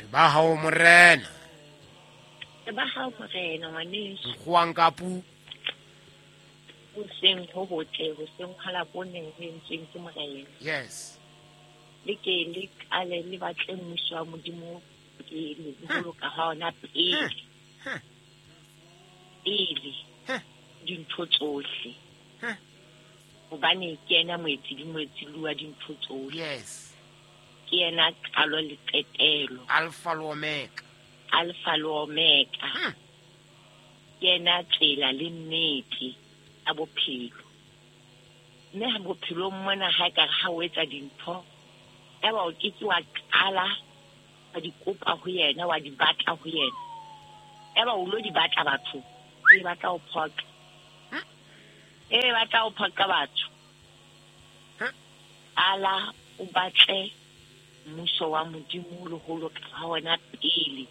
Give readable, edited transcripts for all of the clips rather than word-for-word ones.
Re ba hao morena. Re ba hao morena ngwaneso. Nkgoang ka pu. Hoseng ho hotle, hoseng ha labone ho entsweng ke morena. Yes. Le ke le qale le batle mmuso wa Modimo pele, le ho loka ha ona pele. Pele dintho tsohle. Hobane ke yena moetsi le moetsi wa dintho tsohle. Yes. Ke yena qalo le qetelo. Alpha le Omega. Alpha le Omega. Ke yena tsela le nnete ya bophelo. Mme ha bophelong mona ha ekare ha o etsa dintho, eba o ke ke wa qala wa di kopa ho yena, wa di batla ho yena. Eba o lo di batla batho, e batla ho phoqa. E batla ho phoqa batho. Qala o batle mmuso wa Modimo le ho loka ha wona pele.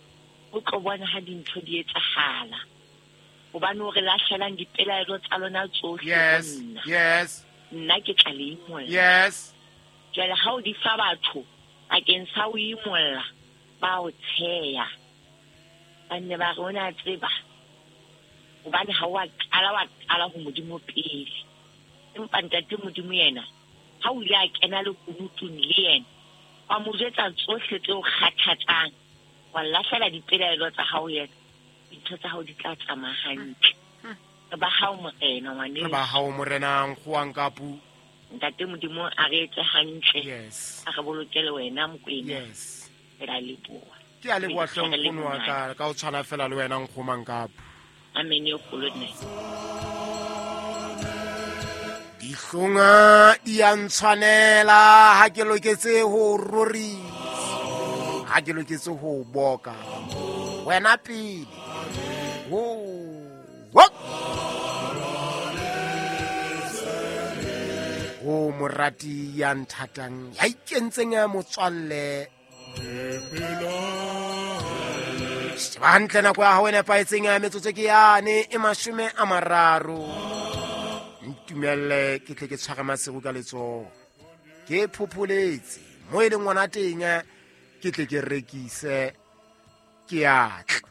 O tlo bona ha dintho di etsahala. Hobane o re lahlelang dipelaelo tsa lona tsohle ho Yes. nna. Yes. Nna ke tla le imolla. Yes. Jwale ha o di fa batho bakeng sa ho imolla, ba o tsheya. Ba nne ba re o ne a tseba. Hobane ha wa qala wa qala ho Modimo pele. Empa ntate Modimo yena, ha o ile a kena lekunutung le yena, wa mo jwetsa tsohle tse o kgathatsang, wa lahlela dipelaelo tsa hao yena, dintho tsa hao di tla tsamaya hantle. Re ba hao morena ngwaneso. Re ba hao morena nkgoang ka pu. Ntate Modimo a re etse hantle. Yes. A re bolokele wena Mokwena. Yes. Re a leboha. Ke a leboha hle Re nkgono wa leboha. ka, ka o tshwana fela le wena nkgomang ka pu. Amen e kgolo nne. Dihlonga di a ntshwanela ha ke loketse ho rorisa, ha ke loketse ho boka wena pele. Ho, ho. Ho morati ya nthatang, ya ikentseng ya motswalle. Sheba hantle nako ya hao e nepahetseng ya metsotso ke yane e 30. Ntumelle ke tle ke tshware Maseru ka letsoho. Ke phopholetse mo e leng ngwana teng, ke tle ke rekise ke atla.